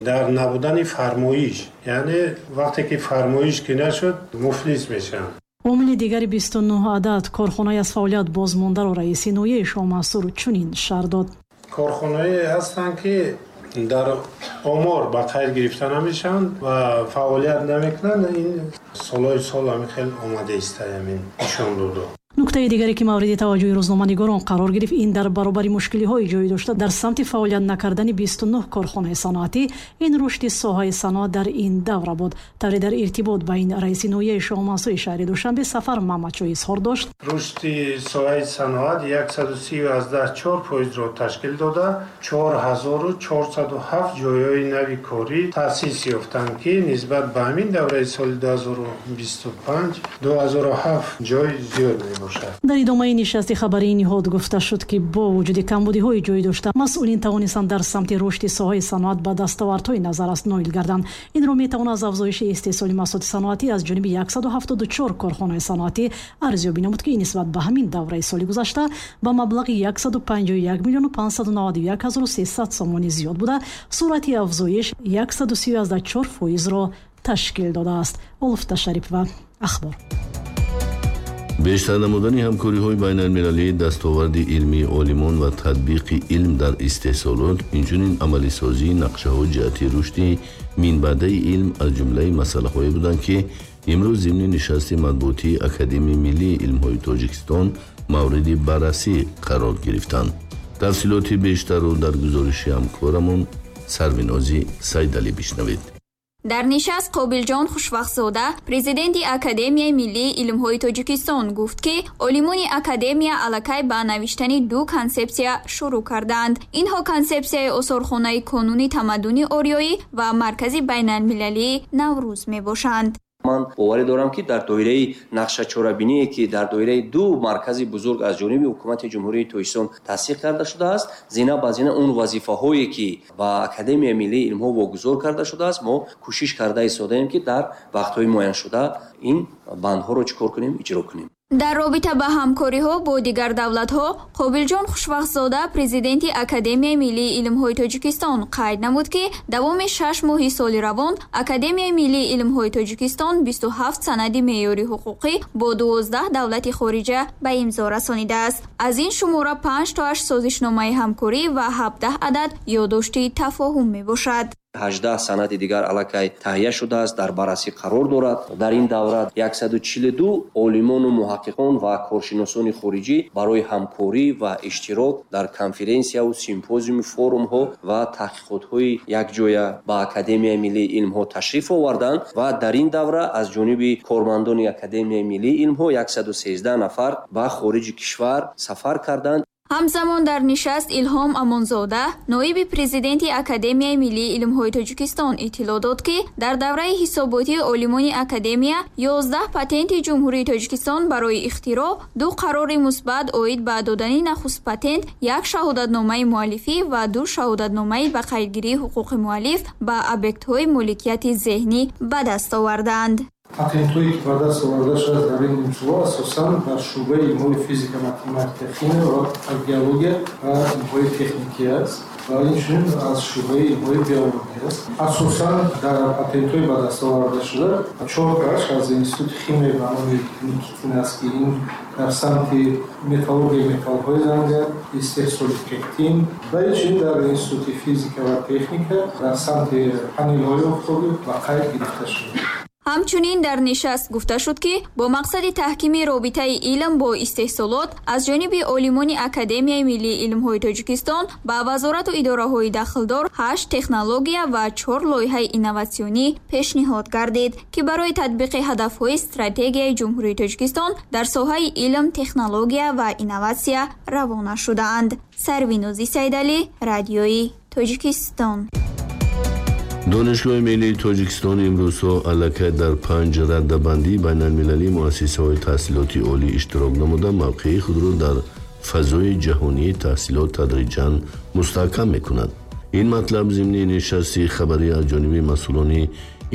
Дар набудани фармоиш, яъне вақте ки фармоиш ки нашуд, муфлис мешаванд. Омили дигари 29 адад корхонаи аз фаъолият бозмондаро раиси ноҳияи Шоҳмансур чунин шарҳ дод. Корхонаҳое ҳастанд, ки дар омор ба қайд гирифта намешаванд ва фаъолият намекунанд. Ин солҳои сол ҳамин хел омада иста, ҳамин нишон додо. Нуктаи дигаре, ки мавриди таваҷҷӯҳи рӯзноманигорон қарор гирифт, ин дар баробари мушкилиҳои ҷой дошта дар самти фаъолият накардани 29 корхонаи саноатӣ, ин рушди соҳаи саноат дар ин давра буд. Тавре дар иртибот ба ин раиси ноҳияи Шоҳмансури шаҳри Душанбе Сафар Мамадшоҳ изҳор дошт. Рушди соҳаи саноат 130,4%-ро ташкил дода, 4407 ҷойҳои нави корӣ таъсис ёфтанд, ки нисбат ба ҳамин давраи соли 2025 2007 ҷой зиёд мебошад. Дар идомаи нишасти хабарии ниҳод гуфта шуд, ки бо вуҷуди камбудиҳои ҷой дошта, масъулин тавонистанд дар самти рушди соҳаи саноат ба дастовардҳои назаррас ноил гарданд. Инро метавон аз афзоиши истеҳсоли маҳсулоти саноатӣ аз ҷониби 174 корхонаи саноатӣ арзёбӣ намуд, ки нисбат ба ҳамин давраи соли гузашта ба маблағи 151 миллиону 591 ҳазору 300 сомонӣ зиёд буда, суръати афзоиш 130,4%-ро ташкил додааст. Олуфта Шарипова, Ахбор. Бештар намудани ҳамкориҳои байналмилалӣ, дастоварди илмии олимон ва татбиқи илм дар истеҳсолот, инчунин амалисозии нақшаҳо ҷиҳати рушди минбаъдаи илм аз ҷумлаи масъалаҳое буданд, ки имрӯз зимни нишасти матбуотии Академияи миллии илмҳои Тоҷикистон мавриди баррасӣ қарор гирифтанд. Тафсилоти бештарро дар гузориши ҳамкорамон Сарвинози Сайдалӣ бишнавед. Дар нишаст Қобилҷон Хушвақтзода, президенти Академияи миллии илмҳои Тоҷикистон, гуфт, ки олимони академия аллакай ба навиштани ду консепсия шурӯъ кардаанд. Инҳо консепсияи осорхонаи конуни тамаддуни ориёӣ ва маркази байналмилалии Наврӯз мебошанд. Ман боварӣ дорам, ки дар доираи нақшачорабиние, ки дар доираи ду маркази бузург аз ҷониби ҳукумати Ҷумҳурии Тоҷикистон тасдиқ карда шудааст, зина ба зина он вазифаҳое, ки ба Академияи миллии илмҳо вогузор карда шудааст, мо кӯшиш карда истодаем, ки дар вақтҳои муайяншуда ин бандҳоро чӣ кор кунем, иҷро кунем. Дар робита ба ҳамкориҳо бо дигар давлатҳо Қобилҷон Хушвақтзода, президенти Академияи миллии илмҳои Тоҷикистон, қайд намуд, ки давоми 6 моҳи соли равон Академияи миллии илмҳои Тоҷикистон 27 санади меъёри ҳуқуқӣ бо 12 давлати хориҷа ба имзо расонидааст. Аз ин шумора панҷ тоаш созишномаи ҳамкорӣ ва 17 адад ёддошти тафоҳум мебошад. 18 санади дигар аллакай таҳия шудааст, дар баррасӣ қарор дорад. Дар ин давра 142 олимону муҳаққиқон ва коршиносони хориҷӣ барои ҳамкорӣ ва иштирок дар конференсияву симпозиуму форумҳо ва таҳқиқотҳои якҷоя ба Академияи миллии илмҳо ташриф оварданд ва дар ин давра аз ҷониби кормандони Академияи миллии илмҳо 113 нафар ба хориҷи кишвар сафар карданд. Ҳамзамон дар нишаст Илҳом Амонзода, ноиби президенти Академияи миллии илмҳои Тоҷикистон, иттилоъ дод, ки дар давраи ҳисоботии олимони академия 11 патенти Ҷумҳурии Тоҷикистон барои ихтироъ, ду қарори мусбат оид ба додани нахуст патент, як шаҳодатномаи муаллифӣ ва ду шаҳодатномаи ба қайдгирии ҳуқуқи муаллиф ба объектҳои моликияти зеҳнӣ ба даст овардаанд. Патентҳое, ки ба даст оварда шудааст дар ин нимсола, асосан дар шӯъбаи илмҳои физика, математика, химия ва геология ва илмҳои техникӣ аст ва инчунин аз шӯъбаи илмҳои биология аст. Асосан дар патентҳои ба даст овардашуда чортааш аз Институти химия ба номи Никитин аст, ки ин дар самти металлургияи металлҳои занга, истеҳсоли пектин ва инчунин дар Институти физика ва техника дар самти панелҳои офтобӣ ба қайд гирифта шуда. Ҳамчунин дар нишаст гуфта шуд, ки бо мақсади таҳкими робитаи илм бо истеҳсолот аз ҷониби олимони Академияи миллии илмҳои Тоҷикистон ба вазорату идораҳои дахлдор ҳашт технология ва чор лоиҳаи инноватсионӣ пешниҳод гардид, ки барои татбиқи ҳадафҳои стратегияи Ҷумҳурии Тоҷикистон дар соҳаи илм, технология ва инноватсия равона шудаанд. Сарвинози Сайдалӣ, Радиои Тоҷикистон. Донишгоҳи миллии Тоҷикистон имрӯзҳо аллакай дар панҷ раддабандии байналмилалии муассисаҳои таҳсилоти олӣ иштирок намуда, мавқеи худро дар фазои ҷаҳонии таҳсилот тадриҷан мустаҳкам мекунад. Ин матлаб зимни нишасти хабарӣ аз ҷониби масъулони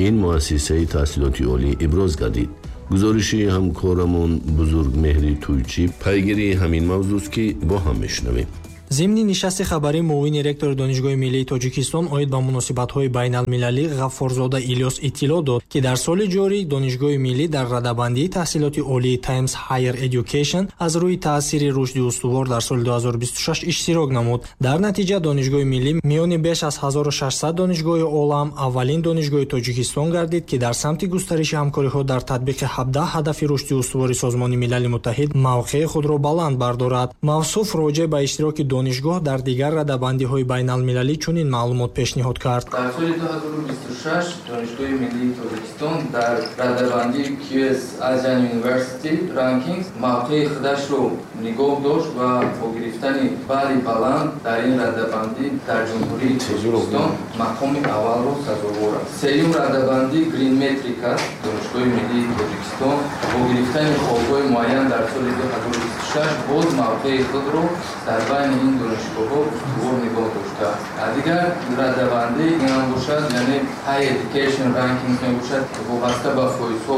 ин муассисаи таҳсилоти олӣ иброз гардид. Гузориши ҳамкорамон Бузургмеҳри Тӯйчӣ пайгирии ҳамин мавзӯст, ки бо ҳам мешунавем. Зимни нишасти хабарӣ муовини ректори Донишгоҳи миллии Тоҷикистон оид ба муносибатҳои байналмилалӣ Ғаффорзода Илёс иттилоъ дод, ки дар соли ҷорӣ Донишгоҳи миллӣ дар радабандии таҳсилоти олии Times Higher Education аз рӯи таъсири рушди устувор дар соли 2026 иштирок намуд. Дар натиҷа Донишгоҳи миллӣ миёни беш аз 1600 донишгоҳи олам аввалин донишгоҳи Тоҷикистон гардид, ки дар самти густариши ҳамкориҳо дар татбиқи 17 ҳадафи рушди устувори Созмони Милали Муттаҳид мавқеи худро баланд бардорад. Мавсуф роҷеъ ба иштироки донишгоҳ дар дигар радабандиҳои байналмилалӣ чунин маълумот пешниҳод кард. Дар соли 2026 Донишгоҳи миллии Тоҷикистон дар радабандии QS Asian University Rankings мавқеи худашро нигоҳ дошт ва бо гирифтани балли баланд дар ин радабандӣ дар Ҷумҳурии Тоҷикистон мақоми аввалро сазовор аст. Сеюм радабандӣ Green Metric аст. Донишгоҳи миллии Тоҷикистон бо гирифтани холҳои муайян дар соли 2026 боз мавқеи худро дар байни ин донишгоҳҳо устувор нигоҳ доштааст. Дигар радабандӣ ин ҳам бошад, яъне High Education Rankings мебошад, вобаста ба фоизҳо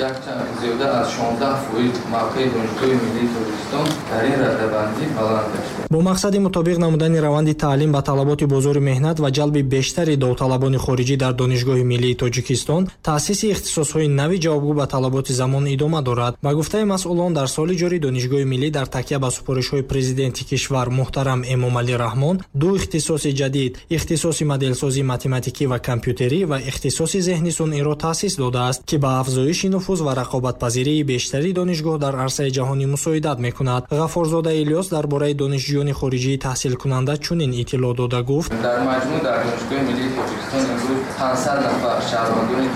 якчанд зиёда аз 16% мавқеи Донишгоҳи миллии Тоҷикистон дар ин радабандӣ баланд гаштааст. Бо мақсади мутобиқ намудани раванди таълим ба талаботи бозори меҳнат ва ҷалби бештари довталабони хориҷӣ дар Донишгоҳи миллии Тоҷикистон таъсиси ихтисосҳои нави ҷавобгӯ ба талаботи замон идома дорад. Ба гуфтаи масъулон, дар соли ҷорӣ Донишгоҳи миллӣ дар такя ба супоришҳои президенти кишвар муҳтарам Эмомалӣ Раҳмон ду ихтисоси ҷадид, ихтисоси моделсозии математикӣ ва компютерӣ ва ихтисоси зеҳни сунъиро таъсис додааст, ки ба афзоиши нуфуз ва рақобатпазирии бештари донишгоҳ дар арсаи ҷаҳонӣ мусоидат мекунад. Ғаффорзода Илёс дар бораи донишҷӯёни хориҷии таҳсилкунанда чунин иттилоъ дода гуфт: дар маҷмӯъ дар Донишгоҳи миллии Тоҷикистон имрӯз 500 нафар шаҳрвандони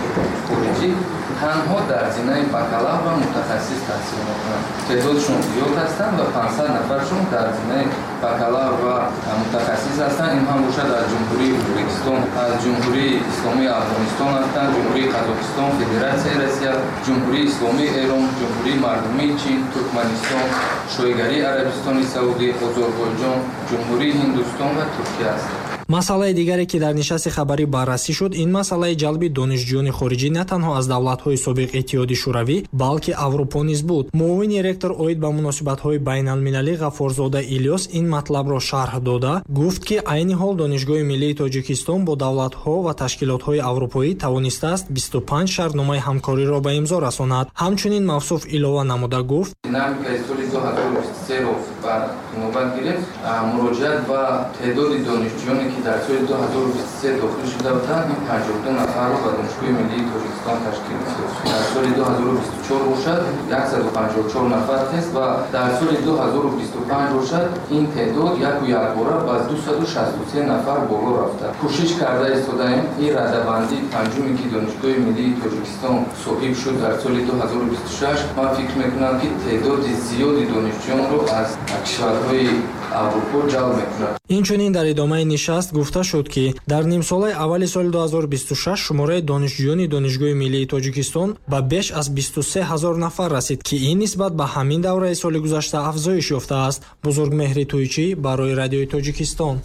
хориҷӣ танҳо дар зинаи бакалавр ва мутахассис таҳсил мекунанд. Теъдодшон зиёд ҳастанд ва 500 нафаршон дар зинаи бакалавр ва мутахассис ҳастанд. Ин ҳам бошад аз Ҷумҳурии Ӯзбекистон, аз Ҷумҳурии Исломии Афғонистон ҳастанд, Ҷумҳурии Қазоқистон, Федератсияи Россия, Ҷумҳурии Исломии Эрон, Ҷумҳурии Мардумии Чин, Туркманистон, Шоҳигарии Арабистони Саудӣ, Озарбойҷон, Ҷумҳурии Ҳиндустон ва Туркия ҳастанд. Масъалаи дигаре, ки дар нишасти хабарӣ баррасӣ шуд, ин масъалаи ҷалби донишҷӯёни хориҷӣ на танҳо аз давлатҳои собиқ Иттиҳоди Шӯравӣ, балки Аврупо низ буд. Муовини ректор оид ба муносибатҳои байналмилалӣ Ғаффорзода Илёс ин матлабро шарҳ дода гуфт, ки айни ҳол Донишгоҳи миллии Тоҷикистон бо давлатҳо ва ташкилотҳои аврупоӣ тавонистааст 25 шартномаи ҳамкориро ба имзо расонад. Ҳамчунин мавсуф илова намуда гуфт: динамикаи соли 2023-ро ба навбат гирифт, муроҷиат ба теъдоди донишҷӯёне ки дар соли 2023 дохил шуда буданд, ин 52 нафарро ба Донишгоҳи миллии Тоҷикистон ташкил дод. Дар соли 2024 бошад 154 нафар тест ва дар соли 2025 бошад ин теъдод яку якбора ба 263 нафар боло рафта. Кӯшиш карда истодаем ин радабандии панҷуме, ки Донишгоҳи миллии Тоҷикистон соҳиб шуд дар соли 2026, ман фикр мекунам, ки теъдоди зиёди донишҷӯёнро аз кишварҳои Аврупо ҷалб мекунад. Инчунин дар идомаи нишаст гуфта шуд, ки дар нимсолаи аввали соли 2026 шумораи донишҷӯёни Донишгоҳи миллии Тоҷикистон ба беш аз 23 ҳазор нафар расид, ки ин нисбат ба ҳамин давраи соли гузашта афзоиш ёфтааст. Бузургмеҳри Тӯйчӣ барои Радиои Тоҷикистон.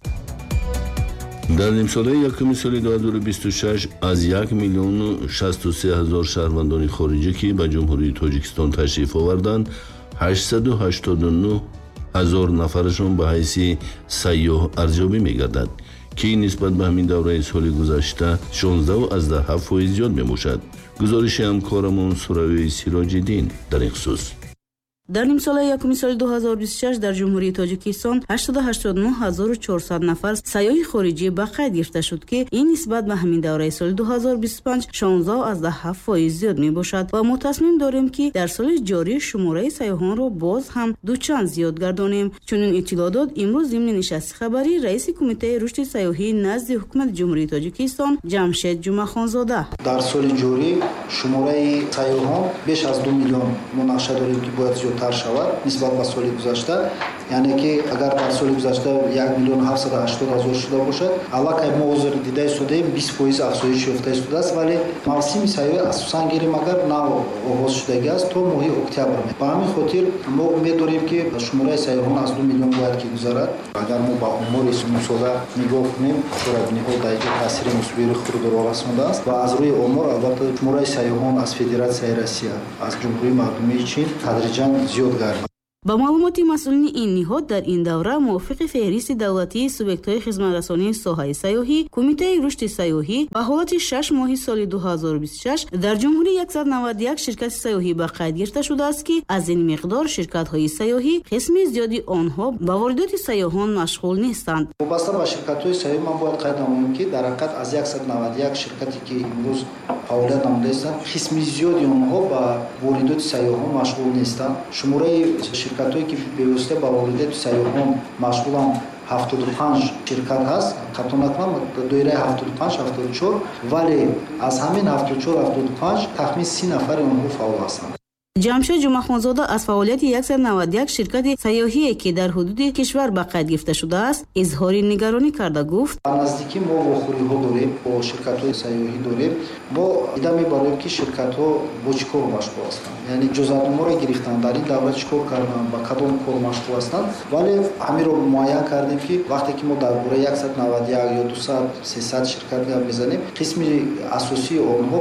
Дар нимсолаи якуми соли 2026 аз 1 миллиону 63 ҳазор шаҳрвандони хориҷӣ, ки ба Ҷумҳурии Тоҷикистон ташриф оварданд, 889 ҳазор нафарашон ба ҳайси сайёҳ арзёбӣ мегардад, ки нисбат ба ҳамин давраи соли гузашта 16,7% зиёд мебошад. Гузориши ҳамкорамон Суравии Сироҷиддин дар ин хусус. Дар нимсолаи якуми соли 2026 дар Ҷумҳурии Тоҷикистон 889400 нафар сайёҳи хориҷӣ ба қайд гирифта шуд, ки ин нисбат ба ҳамин давраи соли 2025 16,7% зиёд мебошад ва мо тасмим дорем, ки дар соли ҷорӣ шумораи сайёҳонро боз ҳам дучанд зиёд гардонем. Чунин иттилоъ дод имрӯз зимни нишасти хабарӣ раиси Кумитаи рушди сайёҳии назди Ҳукумати Ҷумҳурии Тоҷикистон Ҷамшед Ҷумъахонзода. Дар соли ҷорӣ шумораи сайёҳон беш аз 2 миллион мо нақша дорем, ки бояд зиёдтар шавад нисбат ба соли гузашта. Яъне ки агар дар соли гузашта 1 миллион 780 ҳазор шуда бошад, аллакай мо ҳозир дида истодаем 20% афзоиш ёфта истодааст, вале мавсими сайёҳӣ асосан гирем агар нав оғоз шудагӣ аст то моҳи октябр. Ба ҳамин хотир мо умед дорем, ки шумораи сайёҳон аз 2 миллион бояд ки гузарад. Агар мо ба омори нимсола нигоҳ кунем, чорабиниҳо дар инҷо таъсири мусбии худро расондааст ва аз рӯи омор албатта шумораи сайёҳон аз Федератсияи Россия, аз Ҷумҳурии Мардумии Чин тадриҷан зиёд гардид. Ба маълумоти масъулини ин ниҳод, дар ин давра мувофиқи феҳристи давлатии субъектҳои хизматрасонии соҳаи сайёҳӣ, Кумитаи рушди сайёҳӣ ба ҳолати 6 моҳи соли 2026 дар ҷумҳурӣ 191 ширкати сайёҳӣ ба қайд гирифта шудааст, ки аз ин миқдор ширкатҳои сайёҳӣ қисми зиёди онҳо ба воридоти сайёҳон машғул нестанд. Вобаста ба ширкатҳои сайёҳӣ ман бояд қайд намоям, ки дар ҳақиқат аз 191 ширкате ки имрӯз фаъолият намуда истанд, қисми зиёди онҳо ба воридоти сайёҳон машғул нестанд. Шумораи ширкатҳое ки бевосита ба воридоти сайёҳон машғуланд 75 ширкат ҳаст, хато накунам, доираи 75-74, вале аз ҳамин 74-75 тахмин 30 нафари онҳо фаъол ҳастанд. Ҷамшед Ҷумъахонзода аз фаъолияти 191 ширкати сайёҳие, ки дар ҳудуди кишвар ба қайд гирифта шудааст, изҳори нигаронӣ карда гуфт: Ба наздикӣ мо вохӯриҳо дорем, бо ширкатҳои сайёҳӣ дорем. Мо дида мебароем, ки ширкатҳо бо чӣ кор машғул ҳастанд, яъне иҷозатномаро гирифтанд, дар ин давра чӣ кор карданд, ба кадом кор машғул ҳастанд. Вале ҳаминро муайян кардем, ки вақте ки мо дар бораи 191 ё 200-300 ширкат гап мезанем, қисми асосии онҳо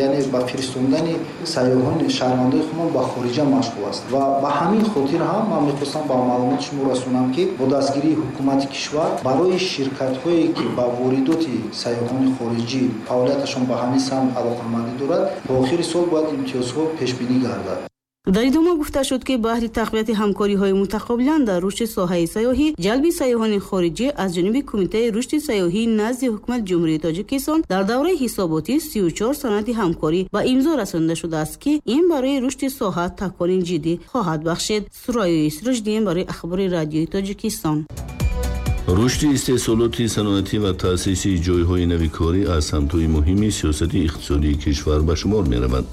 яъне ба фиристондани сайёҳони шаҳрвандои худмон ба хориҷа машғул аст. Ва ба ҳамин хотир ҳам ман мехостам ба маълумоти шумо расонам, ки бо дастгирии ҳукумати кишвар барои ширкатҳое ки ба воридоти сайёҳони хориҷӣ фаъолияташон ба ҳамин самт алоқамандӣ дорад, то охири сол бояд имтиёзҳо пешбинӣ гардад. Дар идома гуфта шуд, ки баҳри тақвияти ҳамкориҳои мутақобилан дар рушди соҳаи сайёҳӣ, ҷалби сайёҳони хориҷӣ аз ҷониби Кумитаи рушди сайёҳӣ назди Ҳукумати Ҷумҳурии Тоҷикистон дар давраи ҳисоботӣ 34 санади ҳамкорӣ ба имзо расонида шудааст, ки ин барои рушди соҳа такони ҷиддӣ хоҳад бахшид. Сурайёи Сироҷиддин барои Ахбори радиои Тоҷикистон. Рушди истеҳсолоти саноатӣ ва таъсиси ҷойҳои нави корӣ аз самтҳои муҳими сиёсати иқтисодии кишвар ба шумор меравад.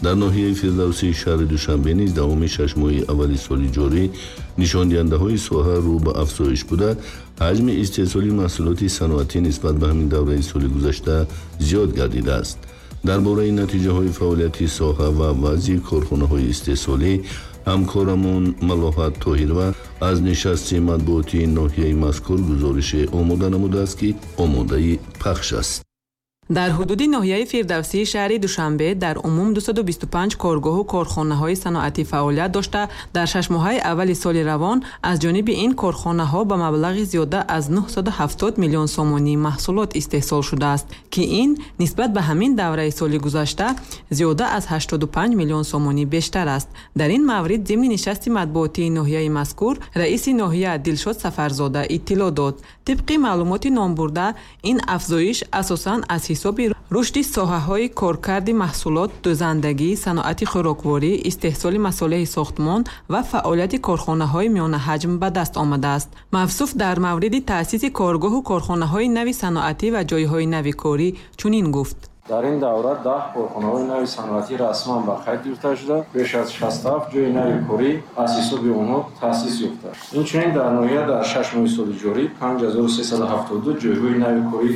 Дар ноҳияи Фирдавсии шаҳри Душанбе низ давоми 6 моҳи аввали соли ҷорӣ нишондиҳандаҳои соҳа рӯ ба афзоиш буда, ҳаҷми истеҳсоли маҳсулоти саноатӣ нисбат ба ҳамин давраи соли гузашта зиёд гардидааст. Дар бораи натиҷаҳои фаъолияти соҳа ва вазъи корхонаҳои истеҳсолӣ ҳамкорамон Малоҳат Тоҳирова аз нишасти матбуотии ноҳияи мазкур гузорише омода намудааст, ки омодаи пахш аст. Дар ҳудуди ноҳияи Фирдавсии шаҳри Душанбе дар умум 225 коргоҳу корхонаҳои саноатӣ фаъолият дошта, дар 6 моҳаи аввали соли равон аз ҷониби ин корхонаҳо ба маблағи зиёда аз 970 миллион сомонӣ маҳсулот истеҳсол шудааст, ки ин нисбат ба ҳамин давраи соли гузашта зиёда аз 85 миллион сомонӣ бештар аст. Дар ин маврид зимни нишасти матбуотии ноҳияи мазкур раиси ноҳия Дилшод Сафарзода иттилоъ дод. Тибқи маълумоти номбурда, ин афзоиш асосан аз ҳисоби рушди соҳаҳои коркарди маҳсулот, дӯзандагӣ, саноати хӯрокворӣ, истеҳсоли масолеҳи сохтмон ва фаъолияти корхонаҳои миёнаҳаҷм ба даст омадааст. Мавсуф дар мавриди таъсиси коргоҳу корхонаҳои нави саноатӣ ва ҷойҳои нави корӣ чунин гуфт: Дар ин давра 10 корхонаҳои нави саноатӣ расман ба қайд гирифта шуда, беш аз 67 ҷойи нави корӣ аз ҳисоби онҳо таъсис ёфта. Инчунин дар ноҳия дар 6 моҳи соли ҷорӣ 5372 ҷойҳои нави корӣ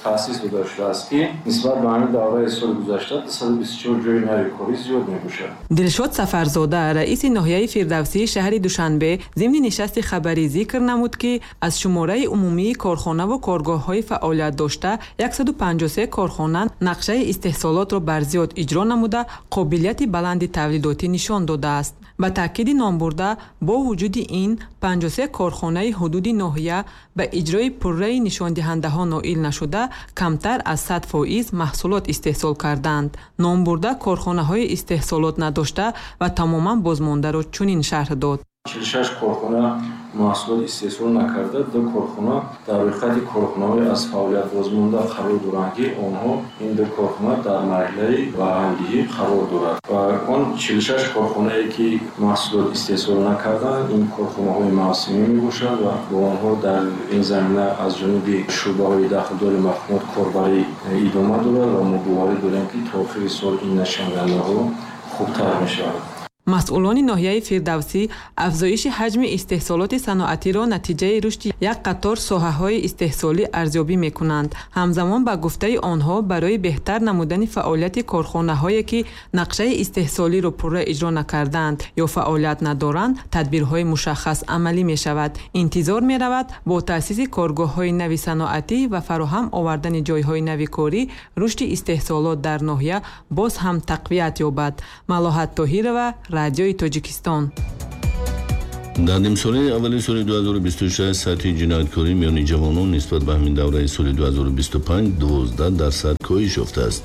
таъсис дода шудааст, ки нисбат ба ҳамин давраи соли гузашта 224 ҷойи нави корӣ зиёд мебошад. Дилшод Сафарзода, раиси ноҳияи Фирдавсии шаҳри Душанбе, зимни нишасти хабарӣ зикр намуд, ки аз шумораи умумии корхонаву коргоҳҳои фаъолият дошта 153 корхона нақшаи истеҳсолотро бар зиёд иҷро намуда, қобилияти баланди тавлидотӣ нишон додааст. Ба таъкиди номбурда, бо вуҷуди ин 53 корхонаи ҳудуди ноҳия ба иҷрои пурраи нишондиҳандаҳо ноил нашуда, камтар аз 100% маҳсулот истеҳсол карданд. Номбурда корхонаҳои истеҳсолот надошта ва тамоман бозмондаро чунин шарҳ дод: 46 корхона маҳсулот истеҳсол накарда, 2 корхона дар рӯйхати корхонаҳои аз фаъолият бозмонда қарор доранд, ки онҳо ин 2 корхона дар марҳилаи барҳамдиҳӣ қарор дорад. Ва он 46 корхонае ки маҳсулот истеҳсол накарданд, ин корхонаҳои мавсимӣ мебошанд ва бо онҳо дар ин замина аз ҷониби шӯъбаҳои дахлдори мақомот корбарӣ идома дорад ва мо боварӣ дорем, ки то охири сол ин нишондиҳандаҳо хубтар мешавад. Масъулони ноҳияи Фирдавсӣ афзоиши ҳаҷми истеҳсолоти саноатиро натиҷаи рушди як қатор соҳаҳои истеҳсолӣ арзёбӣ мекунанд. Ҳамзамон, ба гуфтаи онҳо, барои беҳтар намудани фаъолияти корхонаҳое, ки нақшаи истеҳсолиро пурра иҷро накардаанд ё фаъолият надоранд, тадбирҳои мушаххас амалӣ мешавад. Интизор меравад, бо таъсиси коргоҳҳои нави саноатӣ ва фароҳам овардани ҷойҳои нави корӣ рушди истеҳсолот дар ноҳия боз ҳам тақвият ёбад. Малоҳат Тоҳирова, Радиои Тоҷикистон. Дар нимсолаи аввали соли 2026 сатҳи ҷинояткорӣ миёни ҷавонон нисбат ба ҳамин давраи соли 2025 12% коҳиш ёфтааст.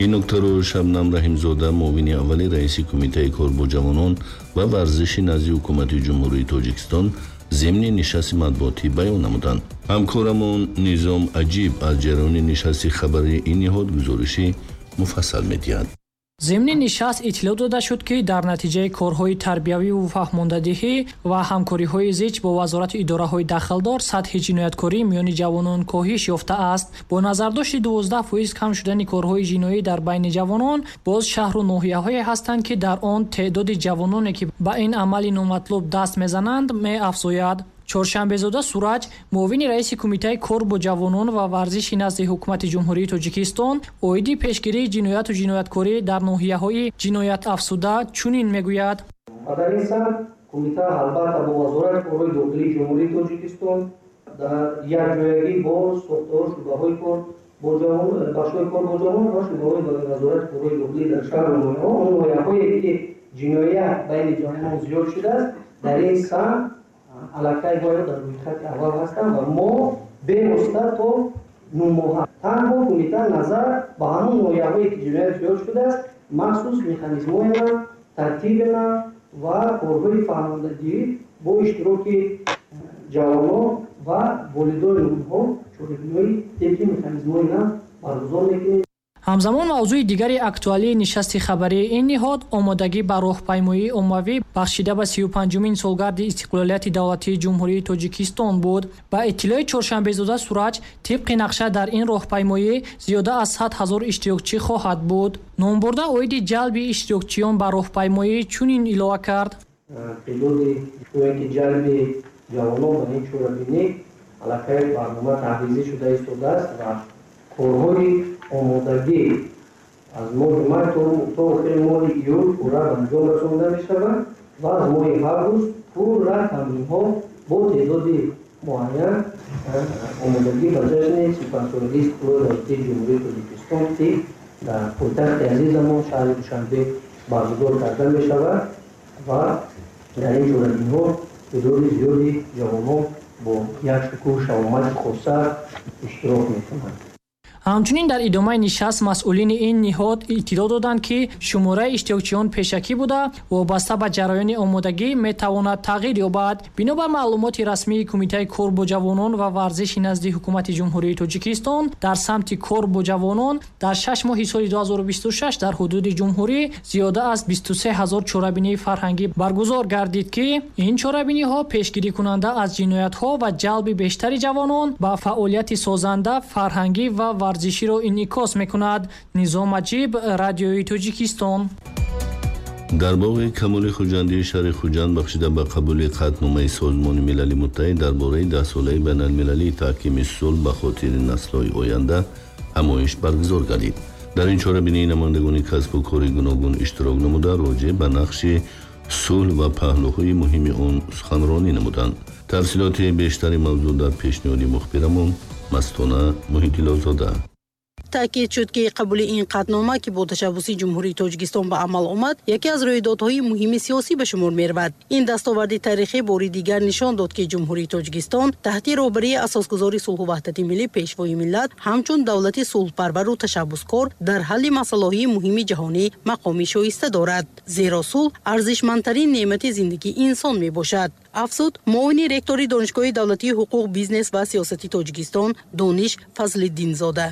Ин нуктаро Шабнам Раҳимзода, муовини аввали раиси Кумитаи кор бо ҷавонон ва варзиши назди Ҳукумати Ҷумҳурии Тоҷикистон зимни нишасти матбуотӣ баён намуданд. Ҳамкорамон Низом Аҷиб аз ҷараёни нишасти хабарии ин ниҳод гузориши муфассал медиҳад. Зимни нишаст иттилоъ дода шуд, ки дар натиҷаи корҳои тарбиявиву фаҳмондадиҳӣ ва ҳамкориҳои зич бо вазорату идораҳои дахлдор сатҳи ҷинояткорӣ миёни ҷавонон коҳиш ёфтааст. Бо назардошти 12% кам шудани корҳои ҷиноӣ дар байни ҷавонон, боз шаҳру ноҳияҳое ҳастанд, ки дар он теъдоди ҷавононе, ки ба ин амали номатлуб даст мезананд, меафзояд. Чоршанбезода Сураҷ, муовини раиси Кумитаи кор бо ҷавонон ва варзиши назди Ҳукумати Ҷумҳурии Тоҷикистон оиди пешгирии ҷинояту ҷинояткорӣ дар ноҳияҳои ҷиноятафзуда чунин мегӯяд. Ва дар ин самт кумита албатта бо Вазорати корҳои дохилии Ҷумҳурии Тоҷикистон дар якҷоягӣ бо сохторҳо, шӯъбаҳои кор бо ҷавонон, бахшҳои кор бо ҷавонон ва шӯъбаҳои Вазорати корҳои дохилӣ дар шаҳру ноҳияҳо, он ноҳияҳое ки ҷиноят байни ҷавонон зиёд шудааст, дар ин самт аллакай бояд дар рӯйхати аввал ҳастанд ва мо бевосита то 9 моҳа танҳо кумита назар ба ҳамон ноҳияҳое ки ҷиноят зиёд шудааст, махсус механизмҳоена, тартибена ва корҳои фаҳмондадиҳӣ бо иштироки ҷавонон ва волидони онҳо чорабиниҳои тибқи механизмҳои нав баргузор мекунем. Ҳамзамон, мавзӯи дигари актуалии нишасти хабарии ин ниҳод омодагӣ ба роҳпаймоии оммавӣ, бахшида ба 35-умин солгарди истиқлолияти давлатии Ҷумҳурии Тоҷикистон буд. Ба иттилои Чоршанбезода Сураҷ, тибқи нақша дар ин роҳпаймоӣ зиёда аз 100 000 иштирокчӣ хоҳад буд. Номбурда оиди ҷалби иштирокчиён ба роҳпаймоӣ чунин илова кард. Теъдоди ки ҷалби ҷавонон ба ин чорабинӣ аллакай барнома таҳризӣ шуда истодааст ва корҳои омодагӣ аз моҳи май то охири моҳи июл пурра ба анҷом расонда мешавад ва аз моҳи август пурра тамринҳо бо теъдоди муайян омодагӣ ба ҷашни 35-солагии истиқлоли давлатии Ҷумҳурии Тоҷикистон, ки дар пойтахти азизамон, шаҳри Душанбе, баргузор карда мешавад ва дар ин чорабиниҳо теъдоди зиёди ҷавонон бо як шукӯҳу шаҳомати хоса иштирок мекунанд. Ҳамчунин, дар идомаи нишаст масъулини ин ниҳод иттилоъ доданд, ки шумораи иштирокчиён пешакӣ буда, вобаста ба ҷараёни омодагӣ метавонад тағйир ёбад. Бино бар маълумоти расмии Кумитаи кор бо ҷавонон ва варзиши назди Ҳукумати Ҷумҳурии Тоҷикистон, дар самти кор бо ҷавонон дар 6 моҳи соли 2026 дар ҳудуди ҷумҳурӣ зиёда аз 23 ҳазор чорабинии фарҳангӣ баргузор гардид, ки ин чорабиниҳо пешгирикунанда аз ҷиноятҳо ва ҷалби бештари ҷавонон ба фаъолияти созанда, фарҳангӣ ва варзиширо инъикос мекунад. Низом Аҷиб, Радиои Тоҷикистон. Дар боғи Камоли Хуҷандии шаҳри Хуҷанд, бахшида ба қабули қатъномаи Созмони Милали Муттаҳид дар бораи даҳсолаи байналмилалии таҳкими сулҳ ба хотири наслҳои оянда, ҳамоиш баргузор гардид. Дар ин чорабинии намояндагони касбу кори гуногун иштирок намуда, роҷеъ ба нақши сулҳ ва паҳлӯҳои муҳими он суханронӣ намуданд. Тафсилоти бештари мавзӯъ дар пешниҳоди мухбирамон Мастона Муҳиддилозода. Таъкид шуд, ки қабули ин қатънома, ки бо ташаббуси Ҷумҳурии Тоҷикистон ба амал омад, яке аз рӯйдодҳои муҳими сиёсӣ ба шумор меравад. Ин дастоварди таърихӣ бори дигар нишон дод, ки Ҷумҳурии Тоҷикистон таҳти роҳбарии асосгузори сулҳу ваҳдати миллӣ, Пешвои миллат, ҳамчун давлати сулҳпарвару ташаббускор дар ҳалли масъалаҳои муҳими ҷаҳонӣ мақоми шоиста дорад, зеро сулҳ арзишмандтарин неъмати зиндагии инсон мебошад, афзуд муовини ректори Донишгоҳи давлатии ҳуқуқ, бизнес ва сиёсати Тоҷикистон Дониш Фазлиддинзода.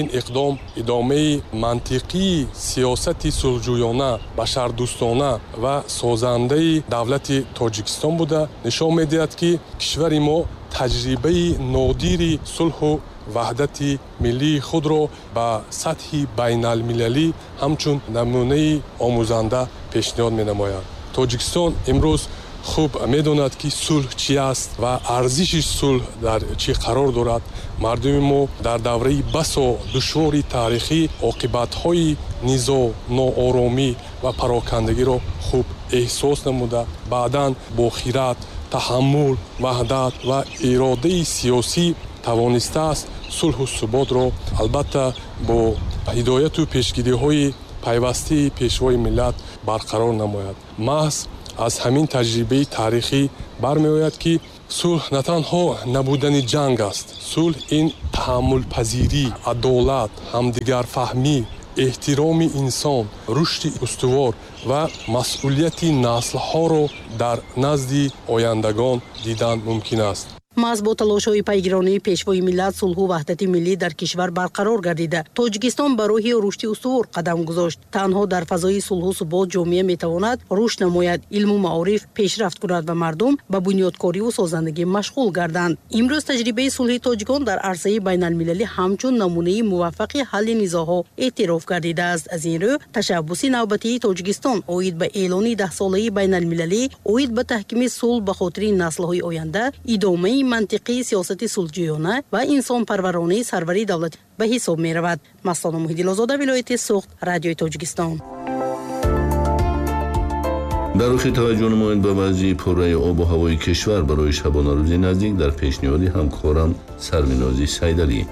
Ин иқдом идомаи мантиқии сиёсати сулҳҷӯёна, башардӯстона ва созандаи давлати Тоҷикистон буда, нишон медиҳад, ки кишвари мо таҷрибаи нодири сулҳу ваҳдати миллии худро ба сатҳи байналмилалӣ ҳамчун намунаи омӯзанда пешниҳод менамояд. Тоҷикистон имрӯз хуб медонад, ки сулҳ чи аст ва арзиши сулҳ дар чӣ қарор дорад. Мардуми мо дар давраи басо душвори таърихӣ оқибатҳои низоъ, нооромӣ ва парокандагиро хуб эҳсос намуда, баъдан бо хират, таҳаммул, ваҳдат ва иродаи сиёсӣ тавонистааст сулҳу суботро, албатта бо ҳидояту пешгириҳои пайвастаи Пешвои миллат, барқарор намояд. Маҳз Аз ҳамин таҷрибаи таърихӣ бармеояд, ки сулҳ на танҳо набудани ҷанг аст. Сулҳ ин таҳаммулпазирӣ, адолат, ҳамдигарфаҳмӣ, эҳтироми инсон, рушди устувор ва масъулияти наслҳоро дар назди ояндагон дидан мумкин аст. Маҳз бо талошҳои пайгиронии Пешвои миллат сулҳу ваҳдати миллӣ дар кишвар барқарор гардида, Тоҷикистон ба роҳи рушди устувор қадам гузошт. Танҳо дар фазои сулҳу субот ҷомеа метавонад рушд намояд, илму маориф пешрафт кунад ва мардум ба бунёдкориву созандагӣ машғул гарданд. Имрӯз таҷрибаи сулҳи тоҷикон дар арсаи байналмилалӣ ҳамчун намунаи муваффақи ҳалли низоъҳо эътироф гардидааст. Аз ин рӯ ташаббуси навбатии Тоҷикистон оид ба эълони даҳсолаи байналмилалӣ оид ба таҳкими сулҳ ба хотири наслҳои оянда идомаи мантиқии сиёсати сулҳҷӯёна ва инсонпарваронаи сарвари давлат ба ҳисоб меравад. Мастона Муҳиддинозода, вилояти Суғд, Радиои Тоҷикистон. Дар охир таваҷҷӯҳ намоед ба вазъи пурраи обу ҳавои кишвар барои шабонарӯзи наздик дар пешниҳоди ҳамкорам Сарвинози Сайдалӣ.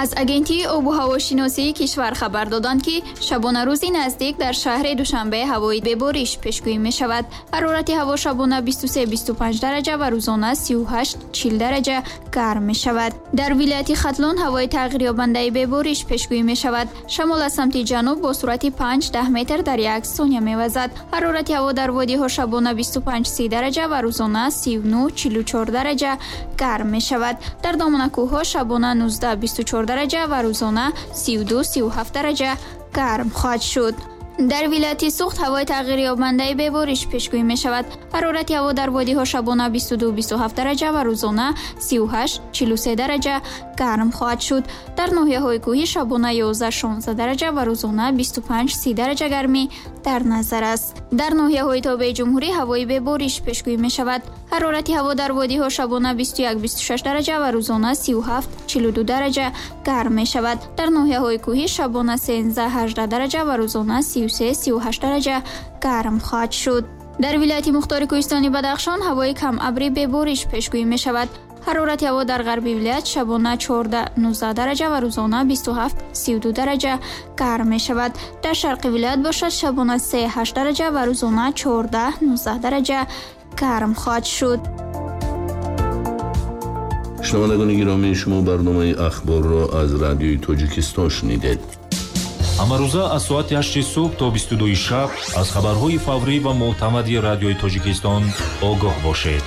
Аз Агентии обу ҳавошиносии кишвар хабар доданд, ки шабонарӯзи наздик дар шаҳри Душанбе ҳавои бебориш пешгӯӣ мешавад. Ҳарорати ҳаво шабона 23-25 дараҷа ва рӯзона 38-40 дараҷа гарм мешавад. Дар вилояти Хатлон ҳавои тағйирёбандаи бебориш пешгӯӣ мешавад. Шамол аз самти ҷануб бо суръати 5-10 метр дар як сония мевазад. Ҳарорати ҳаво дар водиҳо шабона 25-30 дараҷа ва рӯзона 39-44 дараҷа гарм мешавад. Дар доманакӯҳҳо шабона 19-24 дараҷа ва рӯзона 32-37 дараҷа гарм хоҳад шуд. Дар вилояти Суғд ҳавои тағйирёбандаи бебориш пешгӯӣ мешавад. Ҳарорати ҳаво дар водиҳо шабона 22-27 дараҷа ва рӯзона 38-43 дараҷа гарм хоҳад шуд. Дар ноҳияҳои кӯҳӣ шабона 11-16 дараҷа ва рӯзона 25-30 дараҷа гармӣ дар назар аст. Дар ноҳияҳои тобеи ҷумҳурӣ ҳавои бебориш пешгӯӣ мешавад. Ҳарорати ҳаво дар водиҳо шабона 21-26 дараҷа ва рӯзона 37-42 дараҷа гарм мешавад. Дар ноҳияҳои кӯҳӣ шабона 13-18 дараҷа ва рӯзона 33-38 дараҷа гарм хоҳад шуд. Дар вилояти мухтори кӯҳистони Бадахшон ҳавои камабрӣ бебориш пешгӯӣ мешавад. Ҳарорати ҳаво дар ғарби вилоят шабона 14-19 дараҷа ва рӯзона 27-32 дараҷа гарм мешавад. Дар шарқи вилоят бошад шабона 3-8 дараҷа ва рӯзона 14-19 дараҷа гарм хоҳад шуд. Шунавандагони гиромӣ, шумо барномаи ахборро аз Радиои Тоҷикистон шунидед. Ҳамарӯза аз соати 8 субҳ то 22 шаб аз хабарҳои фаврӣ ва мӯътамади Радиои Тоҷикистон огоҳ бошед.